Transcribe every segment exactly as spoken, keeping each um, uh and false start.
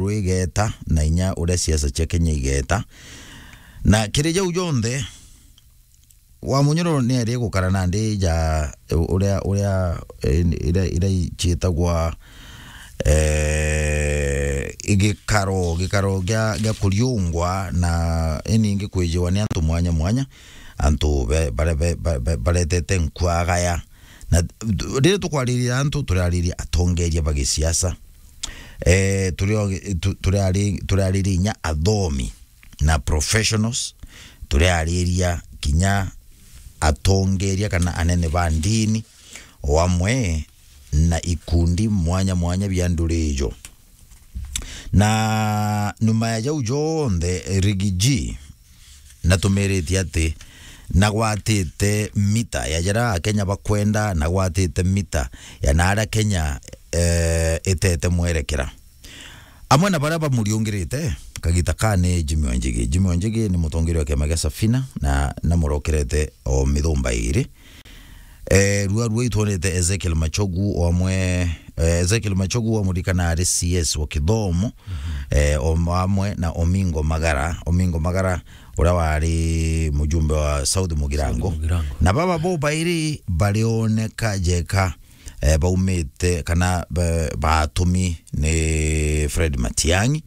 rwigeta na inya uria siasa cia Kenya igeta. Na kiri jau jonthe, Wamunyoro ni ari gukara nandi ja uria, uria, eh, iria, iria ciitagwa, eh, gikaro, gikaro gia, gia kuriungwa na iningi kwijiwa ni antu mwanya mwanya, antu be-, bare-, be-, be-, be-, baretete nkwagaya. Na riria tukwariria antu, turariria atongeria ba gisiasa. Eh, turi o gi-, tu-, turari-, turariria inya athomi na professionals, turiariria kinya atongeria kana anene ba ndini, o amwe na ikundi mwanya mwanya bia nduri ijo. Na nyuma ya jau jonthe, Riggy G natumiritie ati nagwatite mita ya jaria Akenya bakwenda, nagwatite mita ya naria Kenya, eh, itete mwerekera. Amwe na baria bamuriungirite kagita ka ni Jimmy Wanjigi. Jimmy Wanjigi ni mutongeria wa kiama gia Safina na namurokerete o mithumba iiri. Eh, rua rua itwonete Ezekiel Machogu o amwe, eh, Ezekiel Machogu wa murikana ari C S wa kithomo, eh, o amwe na Omingo Magara. Omingo Magara uria wari mujumbe wa South Mugirango. South Mugirango. Na baba bo bairi barioneka jeka, eh, baumite kana ba-, batumi ni Fred Matiang'i.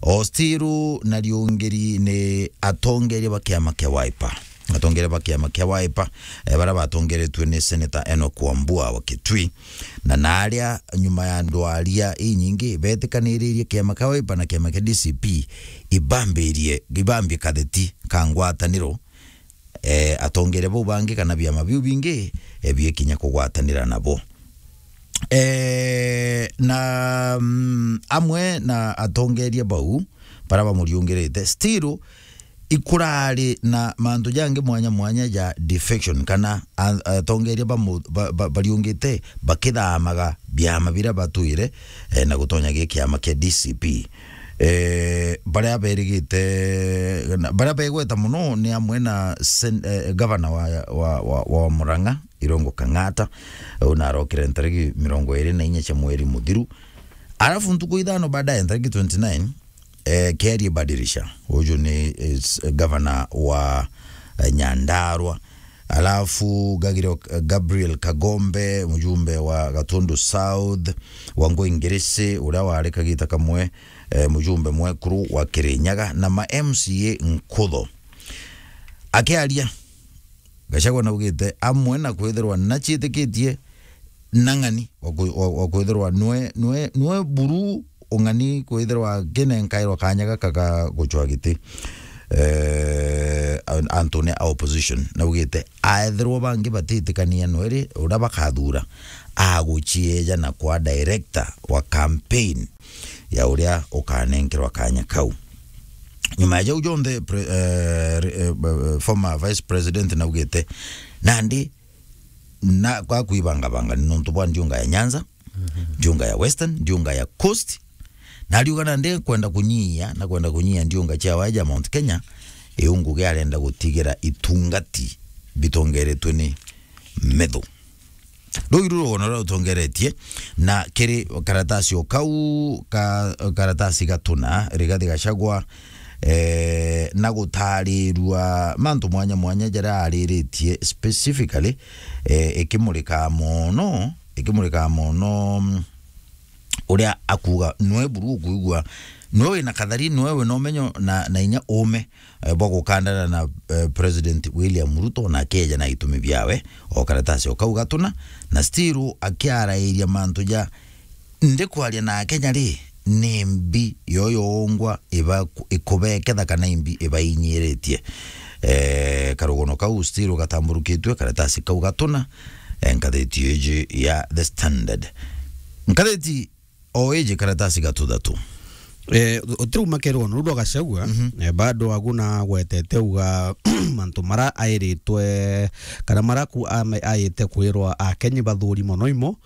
O still na riungiri ni atongeria ba kiama kia Wiper. Atongeria ba kiama kia Wiper, eh, baria batongeretue ni Senator Enoch Wambua wa Kitui. Na naria nyuma ya ndwaria inyingi betikaniririe kiama kia Wiper na kiama kia D C P ibambirie, ibambie katheti ka ngwataniro, eh, atongeria bau bangi kana biama biu bingi, eh, biekinya kugwatanira nabo. Eh, na, mm, amwe na atongeria bau baria bamuriungirite, still ikurari na mantu jangi mwanya mwanya ja defection, kana a-, atongeria bamu-, ba-, ba-, bariungite bakithamaga biama biria batwire, eh, na gutonya gi kiama kia D C P. Eh, baria berigite, na baria begweta muno ni amwe na sen-, eh, gavana wa, wa, wa, wa Murang'a, Irungu Kang'ata, u narokire ntariki mirongo iri na inya cia mweri muthiru. Alafu ntuku ithano baadaye, ntariki twenty nine, eh, Kiarie Badirisha, uju ni, eh, s-, gavana wa, eh, Nyandarua. Alafu Gagiro-, Gabriel Kagombe, mujumbe wa Gatundu South, Wangui Ngirisi, uria wari kagita kamwe, eh, mujumbe mwekuru wa Kirinyaga, na ma M C A nkutho. Akiaria, Gachagua naugite, amwe na kwithirwa naciitikitie na ng'ani wa kwi-, wa, wa kwithirwa nwe, nwe, nwe buru ung'ani kwithirwa kinenkairwa kanya gaka ga gucwa giti, eh, an-, antu ni a opposition. Naugite, aethirwa bangi batitikania nweri uria bakathura, agucieja na kwa director wa campaign ya uria ukanenkerwa kanya kau. Nyuma ya jau jonthe, pre-, eh, re-, eh, b-, former vice president naugite, nandi na kwa kwibangabanga ni nontu bwa ndiunga ya Nyanza, ndiunga ya Western, ndiunga ya Coast. Na ariuga nandi kwenda kunyia, na kwenda kunyia ndiunga cia waja Mount Kenya, iu ngugi arenda gutigira itungati bitongeretwe ni metho. Ruu iru rugono ruria rutongeretie, na kiri karatasi o kau ka, karatasi gatuna, Rigathi Gachagua, eh, na gutarirua mantu mwanya mwanya jaria ariritie specifically, eh, ikimurika mono, ikimurika mono, mm, uria akuuga nwe buru ukuigua, nwe wina kathari, nwe wina umenyo na, na inya uume, eh, bwa gukandana na, eh, President William Ruto, na akeja na itumi biawe, o karatasi o kau gatuna, na still akiarairia mantu ja, ndikwaria na Akenya ri, ni mbi yo yongwa iba-, ikubeketha kana imbi ibainyiritie. Eh, karugono kau still gatamburukitue, karatasi kau gatuna, eh, ngathiti iji ya The Standard. Ngathiti o iji karatasi gatuthatu. Eh, utirauma kerwa nuru rwa Gachagua, eh, bado aguna gwetete uga mantu mara airitwe, kana mara ku ame-, aite kwirwa Akenya bathuri mono imo,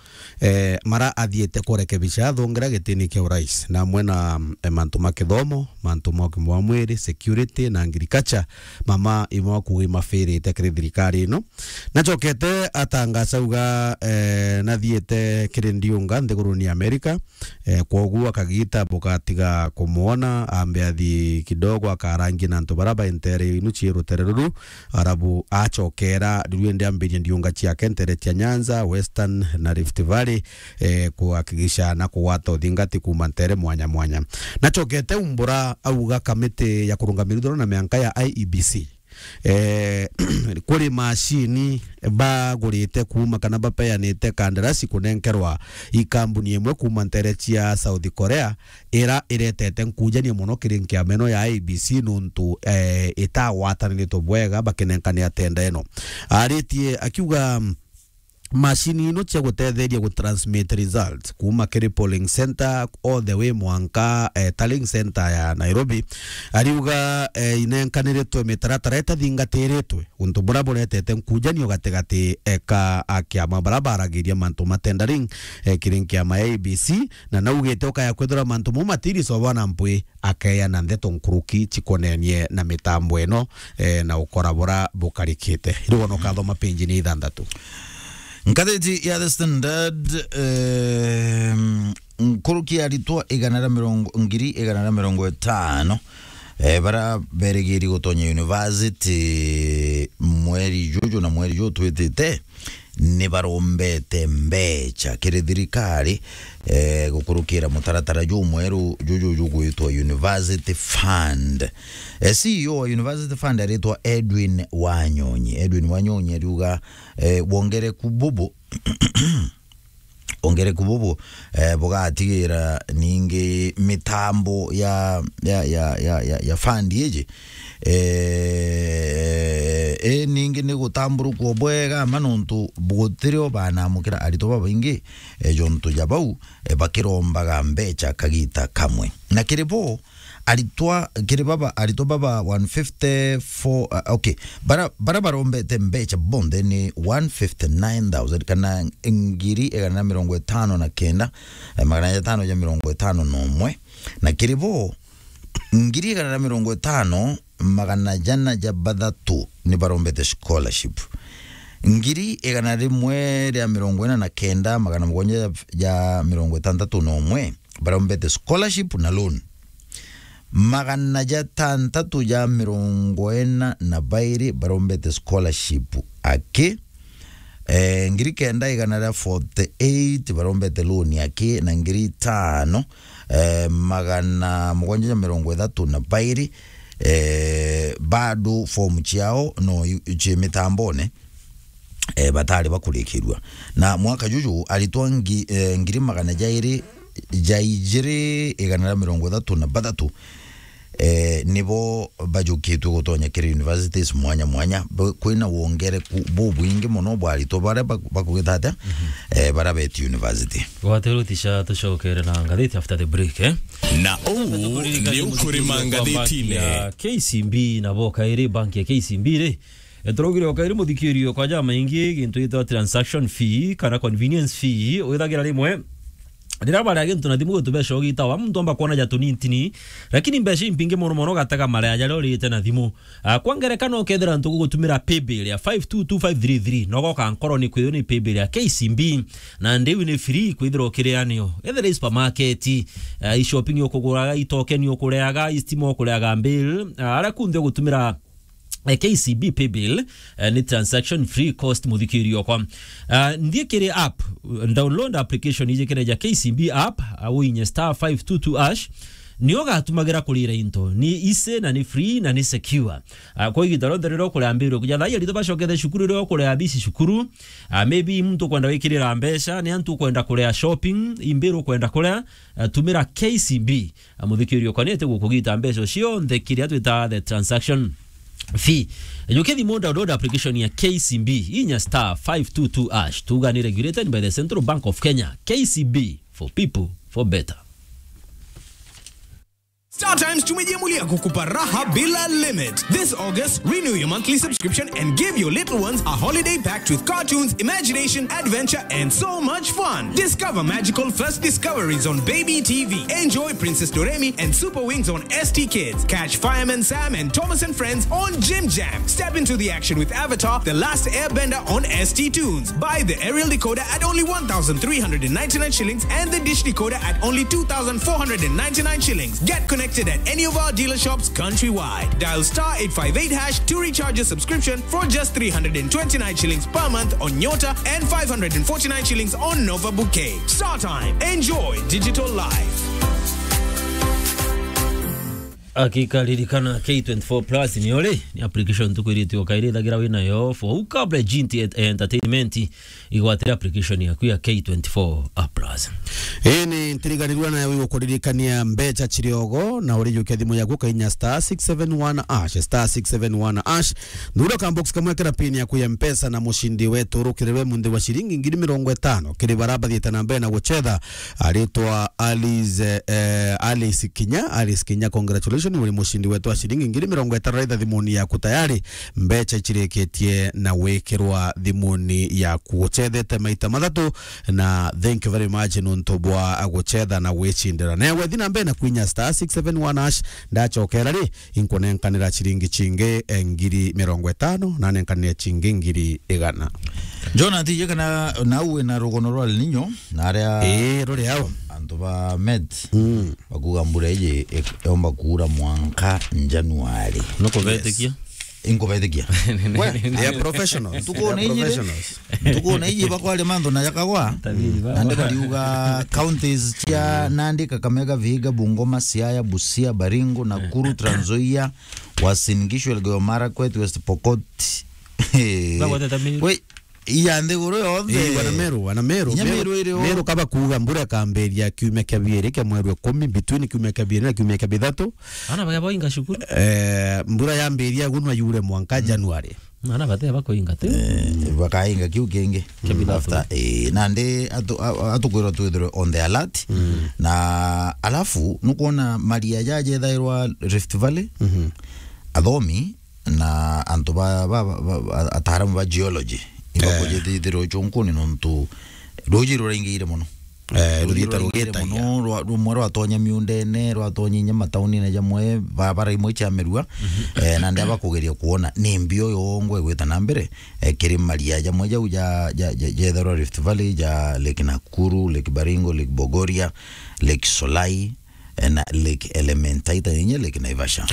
eh, mara athiite kurekebisha athongera gitini kia urais, na amwe na, eh, mantu ma kithomo, mantu ma ugima wa mwiri, security na agriculture, mama imwe akuuga imafirite kiri thirikari ino. Nachokete atangaza uga, eh, nathiite kiri ndiunga nthiguruni ya Amerika, eh, kwoguo akagita bugatiga ah, kumwona, ambe athi kidogo akarangi na antu bara ba ntere inu cie rutere ruru, arabu acokera riu indi ambirie ndiunga ciake ntere cia Nyanza, Western na Rift Valley, eh, kuhakikisha na kugwata uthingati kuma ntere mwanya mwanya. Nacokete umbura auga kamiti ya kurungamira ithurano na mianka ya I E B C, eh, kuri macini bagurite kuma kana bapeanite kandarasi kunenkerwa ikambuni imwe kuma ntere cia South Korea, ira iretete nkujania mono kiri nkiama ino ya I E B C nuntu, eh, itagwataniritwe bwega bakinenkania tenda ino. Aritie akiuga, mm, macini ino cia gutetheria gu transmit results kuma kiri polling center all the way mwanka, eh, tallying center ya Nairobi. Ariuga, eh, inenkaniritwe mitaratara itathingatiritwe, untu buria buretete nkujanio gatigati, eh, ka akiama bara baragiria mantu ma tendering, eh, kiri nkiama ya I E B C, na naugite ukaya kwithira mantu mau matirisobwa na mpwi akeana ndeto nkuruki cikonenie na mitambo ino, eh, na ukora bura bukarikite. Riu wona ukathoma page ni ithanthatu. Ngathiti ya The Standard, em, nkuruki aritwa igana ria mirongo, ngiri igana ria mirongo itano, eh, bara berigiri gutonya university mweri juju na mweri juju twitite, ni barombete mbecha kiri thirikari, eh, gukurukira mutaratara jumweru juju jugwitwa University Fund. Eh, C E O wa University Fund aritwa Edwin Wanyonyi. Edwin Wanyonyi ariuga, eh, wongereku bubu wongereku bubu, eh, bugatigira ningi mitambo ya, ya, ya, ya, ya, ya fund iji, eh, eh, ningi ni gutamburukwo bwega ma nontu gutirio banamukira aritwa babaingi, eh, jontu ja bau, eh, bakirombaga mbecha kagita kamwe. Na kiri bo, aritwa, kiri baba, aritwa baba one fifty-four, uh, okay, bara, bara barombete mbecha bonthe ni one fifty-nine thousand kana ngiri igana na mirongo itano na kenda, eh, magana jatano ja mirongo itano na umwe, na kiri bo, ngiri igana na mirongo itano, magana jana ja bathatu ni barombete scholarship. Ngiri igana rimwe ria mirongo ina na kenda, magana mugwanja ja, ja mirongo itantatu na umwe barombete scholarship na loan. Magana jatantatu ja mirongo ina na bairi barombete scholarship aki. Eh, ngiri kenda igana ria forty-eight barombete loan aki, na ngiri itano, eh, magana mugwanja ja mirongo ithatu na bairi, eh, bado form ciao no i-, cie mitambone, eh, batari bakurikirua. Na mwaka juju aritwa ngi-, eh, ngiri magana jairi ja ijiri igana ria mirongo ithatu na bathatu, eh, nibo bajukitwe gutonya kiri universities mwanya mwanya. Bu-, kwina wongereku bubwingi mono bwa aritwa baria bak-, bakugita atia, eh, baria beti university. Gwate rutisha tucokere na ngathiti after the break, eh? Na uu ni ukurima ngathitine. Ya K C B na boka iri bank ya K C B ri. E, turaugire o kairi muthikirio kwa jamaingi gintu gitwa transaction fee kana convenience fee, withagira rimwe riria baria gintu na thimu gitubeca ugitawa, muntu amba kwona ja tunintini, lakini mbeca impingi mono mono gatega marea jaria urite na thimu. Ah, kwa ngerekano, ukethira ntu gugutumira paybill ya five two two five three three, nogoka nkoro ni kwithirwa ni paybill ya K C B, na ndiu ni free kwithirwa ukirianio. Ethira i supermarket, ah, i shopping ukuguraga, i token ukureaga, i stima ukureaga bill, ah, aria kunthe ugutumira eh, K C B paybill, eh, ni transaction free cost, muthikirio okwa. Ah, nthie kiri app, download application iji kiri ja K C B app, ah, uinye star five two two hash, nio gatumagira kurira into. Ni easy na ni free na ni secure. Ah, kwa igita rionthe riria ukuria mbiru, kuja thai aritwa bacokethe cukuru, riria ukuria bisi cukuru, ah, maybe muntu ukwenda wikirira mbeca, ni antu ukwenda kuria shopping, imbiru ukwenda kuria, ah, tumira K C B. Muthikirio, kwanite gukugita mbeca cionthe kiria twita the transaction fee. Jukia thimu, download application ya K C B, inya star five two two hash. Tuga ni regulated by the Central Bank of Kenya. K C B, for people, for better. StarTimes tumejiamulia kukupa raha bila limit. This August, renew your monthly subscription and give your little ones a holiday packed with cartoons, imagination, adventure, and so much fun. Discover magical first discoveries on Baby T V. Enjoy Princess Doremi and Super Wings on S T Kids. Catch Fireman Sam and Thomas and Friends on Jim Jam. Step into the action with Avatar: The Last Airbender on S T Tunes. Buy the aerial decoder at only one thousand three hundred and ninety-nine shillings and the dish decoder at only two thousand four hundred and ninety-nine shillings. Get connected at any of our dealer shops countrywide. Dial star eight five eight hash to recharge your subscription for just three hundred and twenty-nine shillings per month on Nyota and five hundred and forty-nine shillings on Nova Bouquet. StarTime. Enjoy digital life. Akika ririkana K twenty-four Plus ni uri ni application tukwiritio kairi thagira wina yo for ukable G T entertainment. Igwatire application yaku ya K twenty-four Plus. Ii ni ntiriganirua nayo igukuririkania mbeca ciriogo na urijukia thimu yaku ukainya star six seven one hash, star six seven one hash. Thura ka box kamwe kira pin yaku ya Mpesa na mucindi wetu urukirirwe munthi wa ciringi ngiri mirongo itano kiri bara bathiite na mbere na gucetha. Aritwa Alice, eh, Alice Kinya, Alice Kinya, congratulations, uri mucindi wetu wa ciringi ngiri mirongo itano raitha thimuni yaku tayari. Mbeca icirikitie na gwikirwa thimuni yaku. Gucethete maita mathatu, na thank you very much nontu bwa gucetha na gwicindira. Na wethi na mbere na kwinya star six seven one hash, ndacokera ri, inkunenkanira ciringi cingi, eh, ngiri mirongo itano, na nenkanire cingi ngiri igana. Jonathan, ije kana nau wina rugono rwa El Nino, na aria Ii, ruri au. Antu ba Met, mm, bakuga mbura iji ik-, yomba kuura mwanka January. Nukubetikia? Yes. Inkubetikia. We, they are professionals. Ntuku na iji, professionals. Ntuku na iji bakwaria mantu na jakagwa. Tabiri ba. Nandi bariuga counties cia Nandi, Kakamega, Vihiga, Bungoma, Siaya, Busia, Baringo, Nakuru, Trans Nzoia, Uasin Gishu, Elgeyo Marakwet, West Pokot. Bagwatete Meru. We, iya nthiguru yonthe. Ii, wana Meru, wana Meru. Inya Meru, Meru iri o. Meru kaba kuuga mbura ikambiria kiumia kia biiri kia mweri wa ikumi, between kiumia kia biiri na kiumia kia bithatu. Ana bagea boinga cukuru. Eh, mbura yambiria gunwa yure mwanka January. Ana batea bakoinga tu. Eh, bakainga kiu kingi. Kia bithatu. After, eh, nandi atu-, a-, atukwirwa twithirwe on the alert. Mm. Na alafu, nukwona maria jajethairwa Rift Valley, mhm, athomi na antu ba, ba, ba, ba, ataaramu ba geology, eh, ibakujithithirwa ucunkuni nontu ruuji ruraingiire mono. Eh, ruuji ruraingiire mono, rwa-, rumwe rwatonya miundene, rwatonya inya mataunine jamwe, barabara imwe cia mirua, mhm, eh, na ndia bakugeria kuona ni mbio yongwa igwita na mbere, eh, kiri maria jamwe jau ja, ja, ja, jetherwa Rift Valley, ja Lake Nakuru, Lake Baringo, Lake Bogoria, Lake Solai, eh, na Lake Elementaita, inya Lake Naivasha.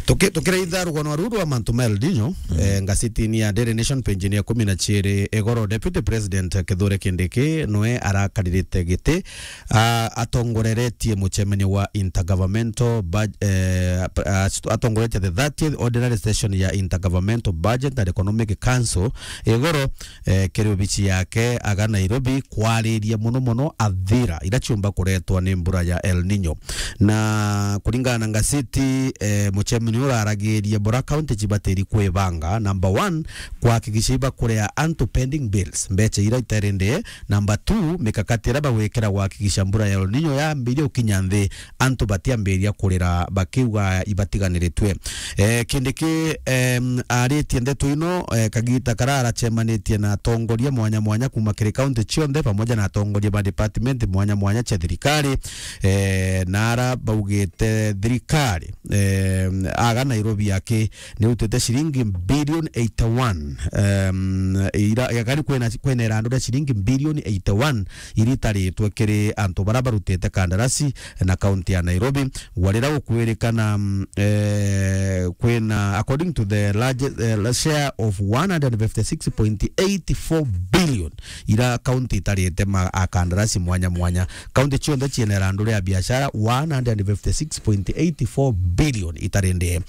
Tuki-, tukiraitha rugono ruru rwa mantu ma El Nino, mhm, eh, ngazetini ya Daily Nation, page ya ikumi na ciiri, igoro Deputy President Kithure Kindiki nwe arakaririte giti, a-, atongoreretie mucemanio wa Intergovernmental Bud-, eh, ap-, as-, atongoretie the thirtieth Ordinary Session ya Intergovernmental Budget and Economic Council igoro, eh, kiri obici yake aga Nairobi, kwariria mono mono athira ira ciumba kuretwa ni mbura ya El Nino. Na kuringana na ngazeti, eh, mucemanio uraragiria bura county cibatiri kwibanga, number one, kuhakikisha ibakurea antu pending bills, mbeca ira itarendee. Number two, mikakati ira bagwikira kuhakikisha mbura ya El Nino yambiria gukinya nthi, antu batiambiria kurira bakiuga ibatiganiritwe. Eh, Kindiki, em, aritie ndeto ino, eh, kagita kara aracemanitie na atongoria mwanya mwanya kuma kiri county cionthe, pamoja na atongoria ba department mwanya mwanya cia thirikari, eh, na ara baugite thirikari, em, aga Nairobi aki ni utite ciringi billion eighty-one, em, ira, gakari kwina, kwina irandu ria ciringi billion eighty-one iri itaritwe kiri antu bara barutite kandarasi na kaunti ya Nairobi. Gwa rira gukwirikana, mm, eh, kwina, according to the large, eh, share of one hundred fifty-six point eight four billion ira kaunti itarite ma, a kandarasi mwanya mwanya. Kaunti cionthe ciina irandu ria biashara one hundred fifty-six point eight four billion itarendee.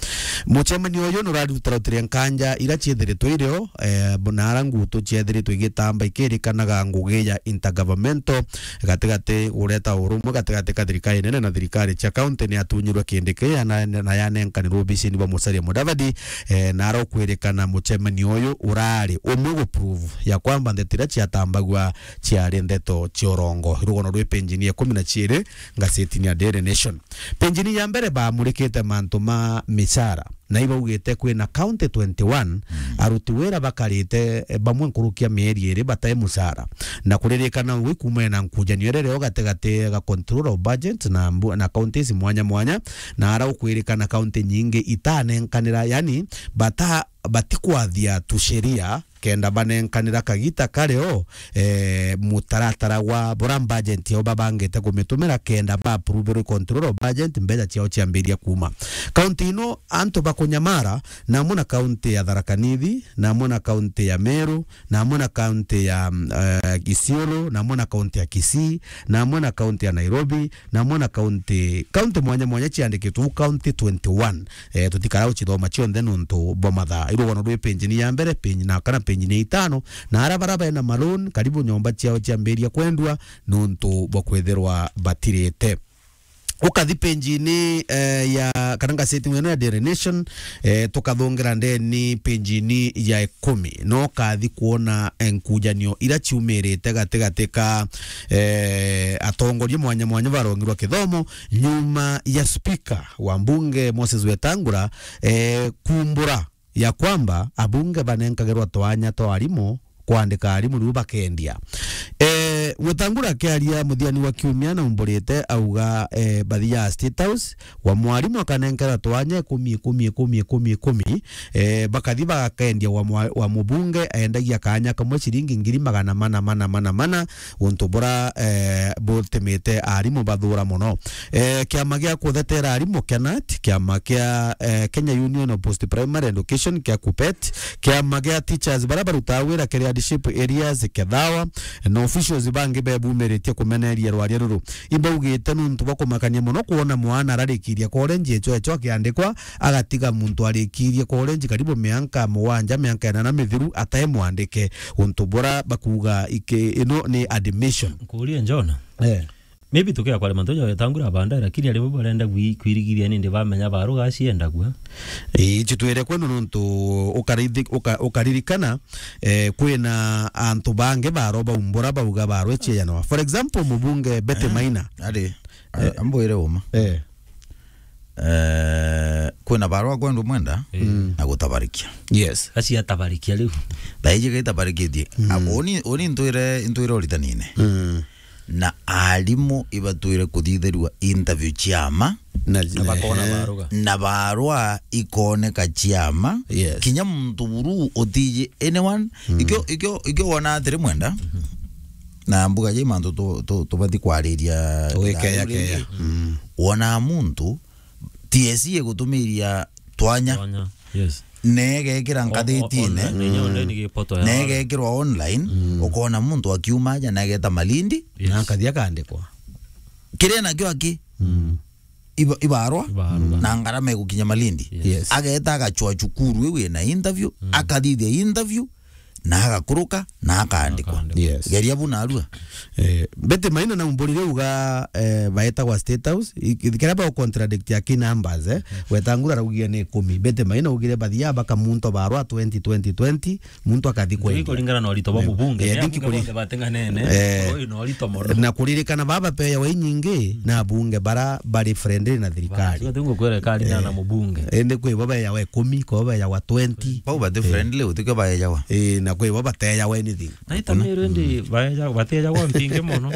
Mucemanio uyu nurarutira utiria nkanja ira ciethiritwe irio, eh, na ara ngutu ciethiritwe igitamba ikirikanaga ngugi ya intergovernmental gatigati, gureta urumwe gatigati ka thirikari nene na thirikari cia kaunti ni atunyirwe Kindiki na, na yanenkanirwe obisini bwa Musalia Mudavadi, eh, na ara ukwirikana mucemanio uyu urari umwe gu prove ya kwamba ndeto iria ciatambagua ciari ndeto cia urongo. Rugono rwi page-ini ya ikumi na ciiri ngazetini ya Daily Nation. Penjini ya mbere baamurikite mantu ma micara, na ibaugite kwina county twenty-one, aruti wira bakarite, eh, bamwe nkuruki ya mieri iri batai mucara. Na kuririkana wi kuumania na nkujanio iria iriho gatigati ga control of budget na mbu-, na counties mwanya mwanya, na ara ukwirikana county nyingi itanenkanira, yani bata-, batikwathia tusheria kenda banenkanira kagita kario, eh, mutaratara wa bura budget yao babangite kumitumira kenda ba approve control of budget mbeca ciao ciambiria kuuma. County ino antu bakunyamara, na amwe na county ya Tharaka Nithi, na amwe na county ya Meru, na amwe na county ya, mm, eh, Isiolo, na amwe na county ya Kisii, na amwe na county ya Nairobi, na amwe na county, county mwanya mwanya ciandikitwe uu county twenty-one. Eh, tutikara gucithoma cionthe nuntu bwa mathaa. Irugano rwi penjini ya mbere, penji na kana penjini ya itano, na ara bara bena maloan, karibu nyomba ciao ciambiria kwendua nuntu bwa kwithirwa batirite. Ukathi penjini, eh, ya, kana ngaseti ino ya Daily Nation, eh, tukathongera ndeni penjini ya ikumi. No kathi kuona, eh, nkujanio ira ciumirite gatigati ka, eh, atongoria mwanya mwanya barongirwa kithomo nyuma ya spika wa mbunge Moses Wetangula, eh, kumbura ya kwamba abunge banenkagirwa twanya twa arimu kwandika arimu riu bakendia. Eh, Wetangula akiaria muthiani wa kiumia na umburite auga, eh, bathia State House, wa mwarimu akanenkerwa twanya ikumi, ikumi, ikumi, ikumi, ikumi, eh, bakathi bagakendia wa mwa-, wa mubunge aendagia kanya kamwe ciringi ngiri magana mana, mana, mana, mana, untu bura, eh, butumite arimu bathura mono. Eh, kiama gia kuthetera arimu KENAT, kiama kia, eh, Kenya Union of Post Primary Education, kia KUPPET, kiama gia teachers bara barutaga wira kiri hardship areas, KETHAWA, na officials bangi bebumiritie kumeneria rwaria ruru. Ibaugite nuntu bwa kumakania mono kwona mwana ararikiria college echo echo akiandikwa, agatiga muntu arikirie college karibu mianka mugwanja, mianka inana mithiru atai mwandike, untu bura bakuuga iki-, ino ni admission. Nkuurie Njona. Eh. Maybe tukia kware mantu ja Wetangula abanda, lakini arimu barenda gwi-, kwirigithia nindi bamenya baruga aciendagua. Ii, ici twire kwenu nuntu ukarithi-, uka-, ukaririkana, eh, kwina antu bangi baro baumbura bauga barwe ciejanawa. For example, mubunge Betty Maina. Ari, a-, ambwire uma. Eh. Eh, kwina barwa kwendwa mwenda na gutabarikia. Yes. Aciatabarikia riu. Thaiji gaitabarikitie. Mm. Abo uni, uni ntwire, ntwire uritanine. Mm. Na arimu ibatwire kuthitherua interview cia ma. Na, na bakona, ehe, baruga. Na barwa ikoneka cia ma. Yes. Kinya muntu buru utiji anyone. Mm. Ikio, ikio, ikio wona atiri mwenda. Na mbuga je mantu tu, tu, tubati kwariria. Tugikeya ithaa riu keya. Ringi. Mm. Wona muntu T S C igutumiria twanya. Twanya, yes. Na igekira, o-, o-, ngathitine, online, inya online gipoto ya na igekirwa online, mm, ukona muntu akiuma aja na ageta Malindi. Yes. Na akathi akandikwa. Kiria nakio aki? Mm. Iba-, ibarwa. Ibarwa. Na ngarama igukinya Malindi. Yes. Yes. Ageta agacwa cukuru iu ina interview, mm, akathithia interview, na agakuruka, na akaandikwa. Akaandikwa. Yes. Geria bu narua. Eh, Betty Maina na umburire uga, eh, baetagwa State House, i-, i-, kira ba contradict ya ki numbers, eh. Wetangula araugia ni ikumi. Betty Maina augire bathia baka muntu barwa twenty, twenty, twenty, muntu akathi kwendia. Kuringana na urito bwa mubunge, eh, ni abunge bonthe batenganene, eh, oi, na urito mono. Na kuririkana baba peya wa inyingi, na abunge bara bari friendly na thirikari. Basi, ngukwira kari na, eh, na mubunge. Indi kwi bo beyawa ikumi, kwi bo beyawa twenty. Bau bati, eh, friendly, utikio baejawa. Eh, na kwi bo batejawa anything. Na ita miru indi baeja-, batejagwa mpingi mono.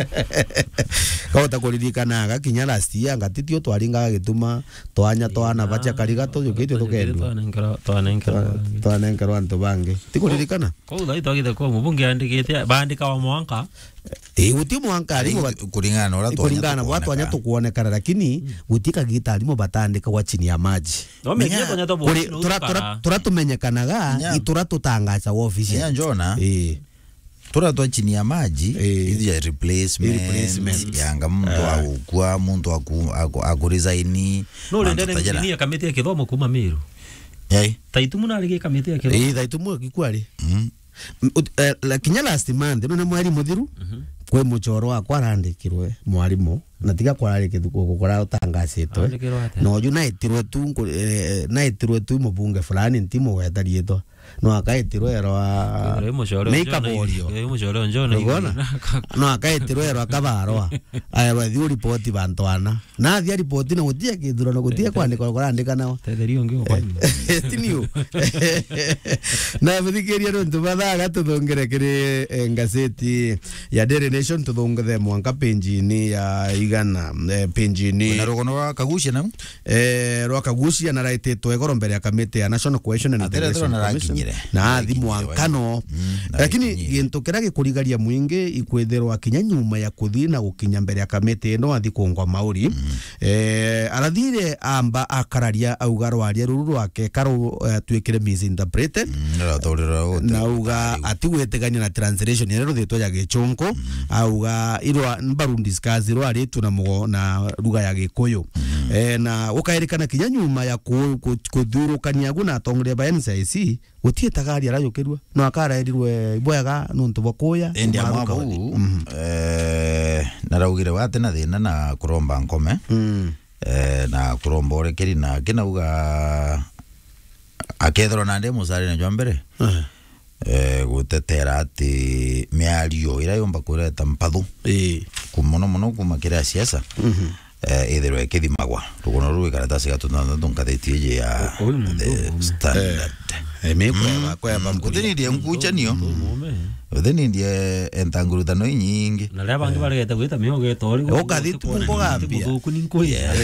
Kauta kuririkanaga kinya last year, ngatitio twaringaga gituma, twanya twana bacha kariga tuyukitio tukendua. Twanenkerwa, twanenkerwa. Twa-, twanenkerwa antu bangi. Tikuririkana? Kou thai twagite kwa mubunge andikite, baandika wa mwanka. Ii, guti mwanka arimu bat-, kuringana na uria twanya kuringana na bwa twanya tukuonekana, lakini guti kagita arimu batandikagwa chini ya maji. No, menya, menya twanya twa kuri-, bwoti no tura-, tura-, gukara. Tura tumenyekanaga, menya, i tura tutangacaga official. Menya Njona, ii, tura twa chini ya maji, ii, ithi ya replacement, replacement, yanga muntu, ah, agukua, muntu aku-, aku-, akuresign, no, mantu rende ta jara. Nginya kamiti ya kithomo kuma Meru. Yai. Taitumu narigie kamiti ya kithomo. Ii, Taitumu akikua ri? Mm. M-, ut-, eh, la-, kinya last month, none mweri muthiru, mhm, kwi muchoro wakwa arandikirwe mwarimu, na tiga kwarari kithuko kurautangacitwe. Arandikirwe atia? Na uju naitirwe tu nku-, eh, naitirwe tu mubunge fulani, ntimugweta riitwa. No akaitirwe erwa. Kwithirwa i mucore o John, Meikaborio. I mucore o John. Urona? No akaitirwe erwa kabarwa. Aerwa, "Thiu ripoti bantu ana." Na athia ripoti na gutia kithurano, gutia kwandika, kurandika nao. Tetheria ungi ukwa. Ti niu. Na muthikiria, nontu mathaa gatuthungire kiri, eh, ngazeti ya Daily Nation, tuthungithe mwanka page-ini ya igana, eh, page-ini. Na rugono rwa Kagucia nau? Eh, rwa Kagucia na raititwe igoro mbere ya kamiti ya National Cohesion and Atere Integration Commission. Arakinyire. Na athi Arakinyire, mwankano. Mm, Lakini arakinyire. Gintu kiria gikurigaria mwingi ikwithirwa kinya nyuma ya kuthi na gukinya mbere ya kamiti ino athi kungwa mauri. Mm. Eh, arathire amba akararia auga rwaria ruru rwake karu, eh, twikire misinterpreted. Mm, narathurira uti- Na auga ati gwitigania na translation iria ruthitwe ya Gichunku. Mm. Auga irwa mbaru discuss irwa ritu na mugo na lugha ya Gikuyu. Mm. Eh, na ukairikana kinya nyuma ya ku-, ku-, kuthurukania agu na atongoria ba N C I C, guti itagari arajukirua. No akaraerirwe bwega nontu bwa kuya. Indi amwe bau, mhm, eh, naraugire wate na thina na kuromba nkome. Mm. Eh, na kuromba urekeri na kinauga akethirwa nandi mucarine jwa mbere. Eh. Eh, gutetera ati miario iria yumba kureta mpathu. Ii. Ku-, muno muno kuma kiri asiasa. Mhm. Eh, ithirwe ikithimagwa. Rugono ruu ikaratasi ga tuthanthathu ngatheti iji ya Uyu muntu The ugume. Standard. Eh, mi kweba, kweba. Mm, uthini ndie nkuchanio. Uyu muntu ugume. Uthini ndie entangurutano inyingi. Na ria bangi baregete gwita miogo ito ri. Ukathi tu kuona mboga ni mbia. Muthuku ni nkuya.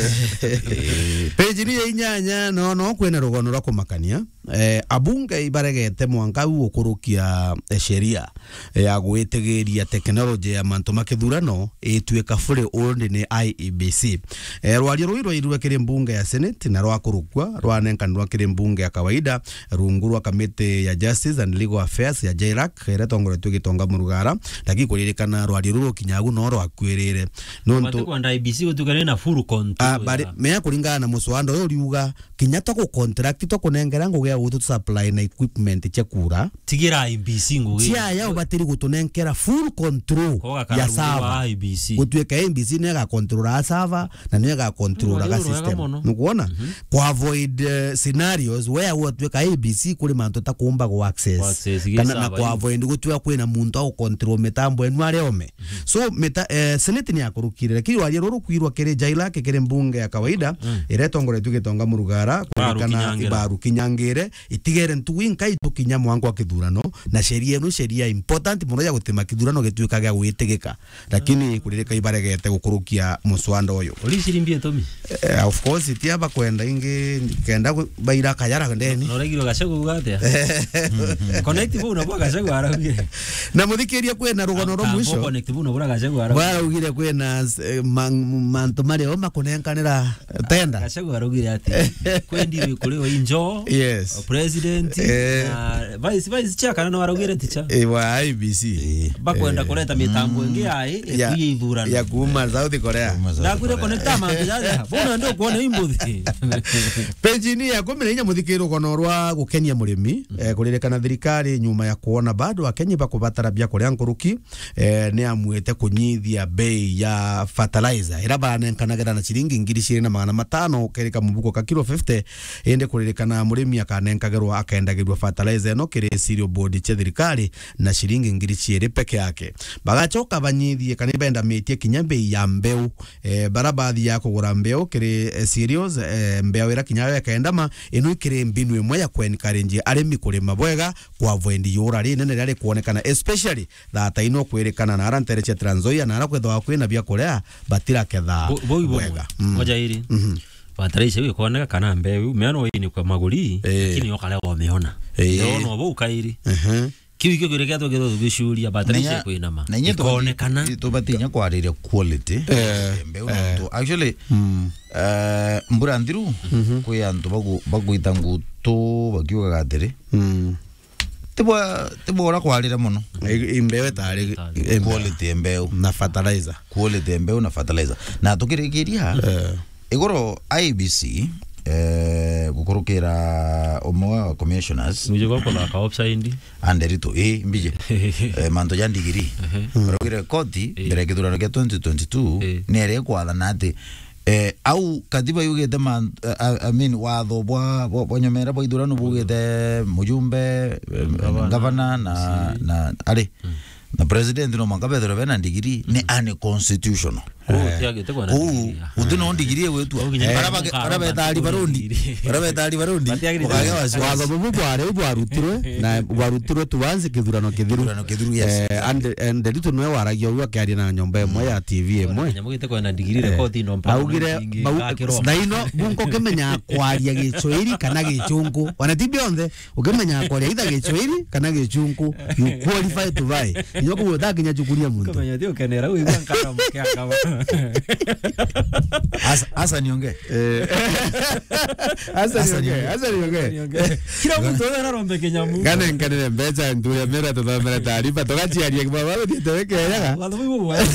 Page ni ya inyanya, no, no kwina rugono rwa kumakania. Eh, abunge ibaregete mwanka u gukurukia, eh, sheria, eh, ya gwitigiria teknoloji ya mantu ma kithurano ituika fully owned ni I E B C. Eh, rwaria ruu rwairue kiri mbunge ya Senate na rwakurukua rwanenkanirwa kiri mbunge ya kawaida rungu rwa kamiti ya Justice and Legal Affairs ya JLAC, iria itongoretue Gitonga Murugara, lakini kuririkana rwaria ruu rukinyagu no rwakuirire. Nontu Bati kwenda I E B C gutuika ni na full control. Ah, bari, ya mea kuringana na muswanda uyu uriuga, kinya twa ku contract, twa kunengera ngugi ya gutu supply na equipment cia kura. Tigira I E B C ngugi. Cia ya ubatiri gutunenkera full control ya server. I E B C. Gutuika I E B C niyo iga control a server na niyo iga control ga system. Nukuona? Mhm. Ku avoid, eh, scenarios where gutuika I E B C kuri mantu ta kuumba gu access. Ku access gi server. Kana na ku avoid gutuika kwina muntu au control mitambo enu ari ome. So, mita-, eh, Senate ni yakurukire, lakini rwaria ruru kwirwa kiri JLAC, kiri mbunge ya kawaida, mm, iria itongoretue Gitonga Murugara, kuririkana Ibaru Kinyangire, itigere ntugu inkai tukinya mwanka wa kithurano, na sheria ino, sheria important muno ya gutima kithurano gituika gia gwitigika. Lakini kuririka ibaregete gukurukia muswanda uyu. Uri cirimbi itumi? Eh, of course, ti aba kwenda ingi, kenda gu-, baira kayara ndeni. Na uregirwe Gachagua uga atia? Connect buu nabwo Gachagua araugire. Na muthikiria, kwina rugono rwa mwisho. Connect buu nabwo Gachagua araugire. Bwaraugire kwina, eh, man-, mantu mario makunenkanira tenda. Gachagua araugire ati, kwendi wi kuri o injo, yes, president, eh, na vice, vice chair kana no araugire ticha? Eh, wa I E B C. Eh. Bakwenda, eh, kureta mitambo ingi ya, ya, ya kuiya ithurano. Ya kuuma South Korea. Kuuma South Korea. Ndakwire connecta mantu jaja. Bona ndio kuona imbuthi. Page-ini ya kumi na inya, muthikiri, rugono rwa gukenia murimi, eh, kuririkana thirikari nyuma ya kuona bado Akenya bakubatara biakuria nkuruki, eh, ni amuite kunyithia bei ya fertilizer, ira baranenkanagira na ciringi ngiri ciiri na magana matano kerika mubuko ka kilo fifty, indi kuririkana murimi akanenkagirwa, akendagirwa fertilizer ino kiri cereal board cia thirikari na ciringi ngiri ciiri peke yake. Bagacoka banyithie kana ibendamitie kinya bei ya mbeu. Eh, bara bathiaga kugura mbeu kiri, eh, cereals, eh, mbeu ira kinya yo ikendama, ino ikiri mbinu imwe ya ku encourage arimi kurima bwega, ku avoid iura rinene riria rikwonekana, especially thaa ta ino kwirikana na ara ntere cia Trans Nzoia, na ara kwithagwa kwina biakuria, batiraketha bwega. Mm. Moja iri. Mhm. Fertilizer iu ikoneka kana mbeu, mea no inikwe maguri, eh, lakini yo karea womiona. Eh. Yo no bau kairi. Mhm. Kiu ikio kiuria kiria twagirwe tugicuria, bataraitha ikwinama. Na inya, na inya ikonekana. Tubati inya kwariria quality. Eh, mbeu, eh, nontu, actually, mm, eh, mbura nthiru, mhm, kwi antu bagu-, bagwita ngutu bakiugaga atiri, mm, tibwa, tibwa uria kwarire mono. I, i mbeu itari, itari, i mbeu. Quality ya mbeu. Na fertilizer. Quality ya mbeu na fertilizer. Na tukirikiria, eh, iguru I E B C, eh, gukurukira umwe wa commissioners. Mwije gwa kuthaka offside. Anderito, eh, mbije. Eh, mantu ja ndigiri. Ehe. Baraugire koti, eh, mbere ya kithurano kia twenty twenty-two, eh, ni ere kwathana ati, Eh, au katiba yugite man-, eh, I, I mean, watho bwa, bwa, bwa nyomera bwa ithurano bugite mujumbe, eh, gavana na, na, ari, na president no mwanka bethirwe bena ndigiri, ni unconstitutional. Kuu, eh, utiagite kwona ndigiri, ya. Uti no ndigiri igwitua. Kuu kinya bara bage-, bara betaari barondi. Bara betaari barondi. Batiagirite. Ukagea wasi-, watho bubu bwari bwarutirwe, na bwarutirwe tuanze kithurano kithiru. Kithurano kithiru, yes. Eh, and, and Nderitu niwe waragia uu akiaria na nyomba imwe ya T V imwe. Kinya mugite kwona ndigiri, eh, rekodi no mpaka augire, ingi bau-, ngakiromba. Thaino, gunko kimenya kwaria Gichwiri kana Gichunku. Ona ti bionthe. Ukimenya kwaria either Gichwiri kana Gichunku, you qualify to buy. Nyo kuo utakinya chukuria muntu. Ukamenya ti ukenera, uigua nkara mukianga. Asa, asa niongee. Eh. Asa niongee, asa niongee. Kila muntu wega arombe kinyamu. Ngane, ngane mbecha nturia mera tuthomera taarifa, tugachiaria kibaba, thiete wekeyaga. Watho buu bwa.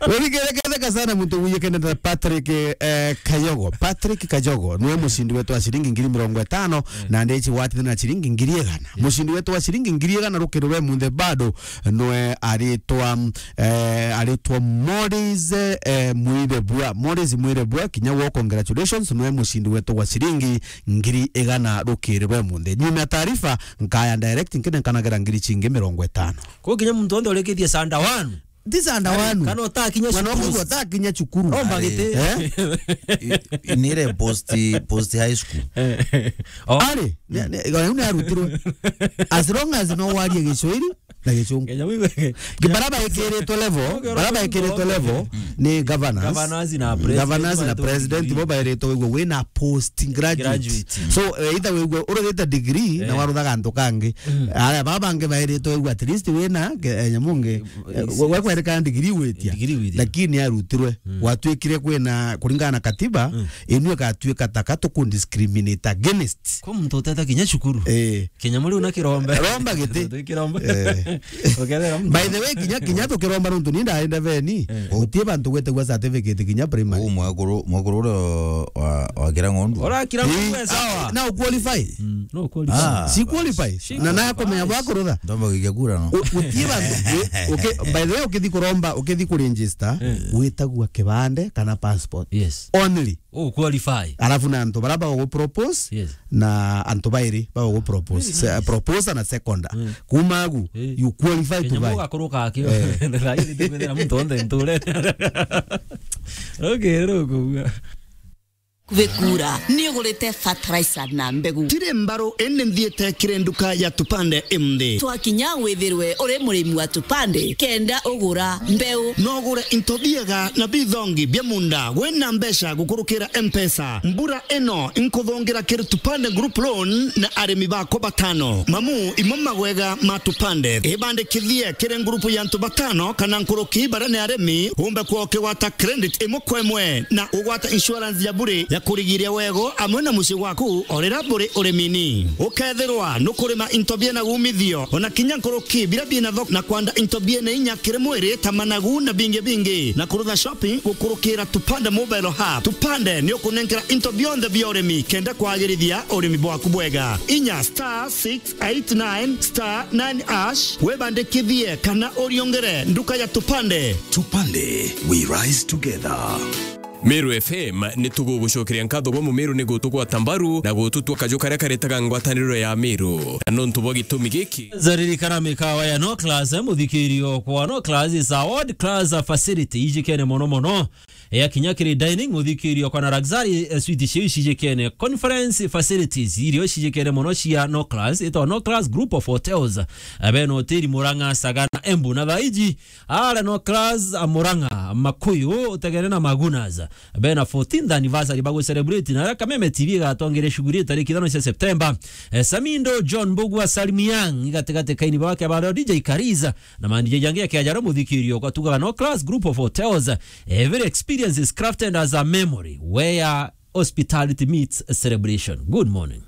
Rurikirikirika sana muntu wiyikene ta Patrick, eh, Kayogo. Patrick Kayogo niwe mucindi wetu wa ciringi ngiri mirongo itano, na ndichi watithana na ciringi ngiri igana. Mucindi wetu wa ciringi ngiri igana rukiri rwe munthe bado niwe aritwa, eh, aritwa Morris, eh, Mwirebua. Morris Mwirebua, kinya wo congratulations, niwe mucindi wetu wa ciringi ngiri igana rukiri rwe munthe. Nyuma ya taarifa, nkaya direct nkine nkanagira ngiri chingi mirongo itano. Kuu kinya muntu onthe urikithie sanda wanu. Ti sanda wanu. Kana utakinya cukuru. Mwana waku utakinya cukuru. Romba giti. Eh? I-, i-, nire post, post high school. Eh. Oh. Ari, ni, ni, ni arutirwe. As long as no warie Gicwiri na Gichungu. Kenya wiwe. Bara baekiritwe level, bara baekiritwe level ni governors. Governors na president. Governors na president, bo baeritwe wigwe wina post graduate. Graduate. So, eh, either wigwe urugite degree na waruthaga antu kangi. Aria baba bangi baeritwe wigwe at least wina ke-, eh, nyamu ngi. Eh, we, we kwereka degree witia. Degree witia. Lakini arutirwe. Gwatuikire kwina, kuringana na katiba, inu igatuika taka tuku discriminate against. Kwa muntu uteta kinya cukuru. Eh. Kinya muri una kirombe. Romba giti. Kirombe. Eh. Ukethera muntu. By the way, kinya, kinya tukiromba nuntu ni ndaenda veni. Eh. Gutie bantu gwetagwa certificate kinya primary. Uu mwekuru, mwekuru uria wa, wa Kirang'ondu. Ora Kirang'ondu. Eh, sawa. Na uqualify. Mm, no qualify. Ah, si qualify. Na na kumenya bwa kurutha. Ndomba gikia kura no. U-, gutie bantu. U-, uki-, by the way, ukithi kuromba, ukithi kuregister, witagua kibande kana passport. Yes. Only. U qualify. Alafu na antu bara bago propose, yes, na antu bairi bago propose. Very nice. Se-, proposer na seconder. Mm. Kuma agu, eh, you qualify to buy. Kenya mugakuruka akio. Eh. Thairi tukwithira muntu onthe nture. Okay, rukuga. Kubikura, ni ugurite fertilizer na mbegu. Tire mbaru, indi nthiite kiri nduka ya Tupande imthi. Twakinya withirwe uri murimi wa Tupande, kenda ugura mbeu. No ugure into biega na bithongi bia munda, wina mbeca gukurukira M-Pesa. Mbura ino, nkuthungira kiri Tupande Group Loan na arimi bakwa batano. Mamu, imo magwega ma Tupande. Ibandikithie kiri ngurupu ya antu batano kana nkuruki baria ni arimi, umbe kwa ukigwata credit imwe kwa imwe na ugwata insurance ya bure ya kurigiria wego amwe na mucii gwaku o riria buri urimini. Ukethirwa nukurima into biena umithio, ona kinya nkuruki biria biena thoko, na kwanda into biena inya kiri mwiri ta managu na bingi bingi, na kurutha shopping gukurukira Tupande Mobile Hub. Tupande ni ukunenkera into bionthe bia urimi kenda kwagirithia urimi bwaku bwega. Inya star six eight nine star nine hash, webandikithie kana uriongere nduka ya Tupande. Tupande, we rise together. Meru F M ni tugugucokeria nkatho bwa Mumeru ni gutugwata mbaru na gututwa kaju karia karetaga ngwataniro ya Meru. Na nontu bwa gitumi giki. Zaririkana mikawa ya No Class, muthikirio kwa No Class is a world class facility ijikene mono mono. Ya kinya kiri dining, uthikirio kwa na luxury, eh, suite cio cijikene. Conference facilities, irio cijikene mono cia No Class, itawa No Class Group of Hotels. Eh, bena hoteli Murang'a, Sagana, Embu na Thaiji. Ara No Class, a Murang'a, Makuyu, utegene na Magunas. Bena fourteenth anniversary bagu celebrate, na aria Kameme T V igatongere shughuli tariki ithano cia September. Eh, Samindo, John Mbugua, Salim Young, igatigati kaini bake ba D J Kariza. Na ma D J jangi ya kiajaro muthikirio kwa tugaga No Class Group of Hotels. Every experience is crafted as a memory where hospitality meets celebration. Good morning.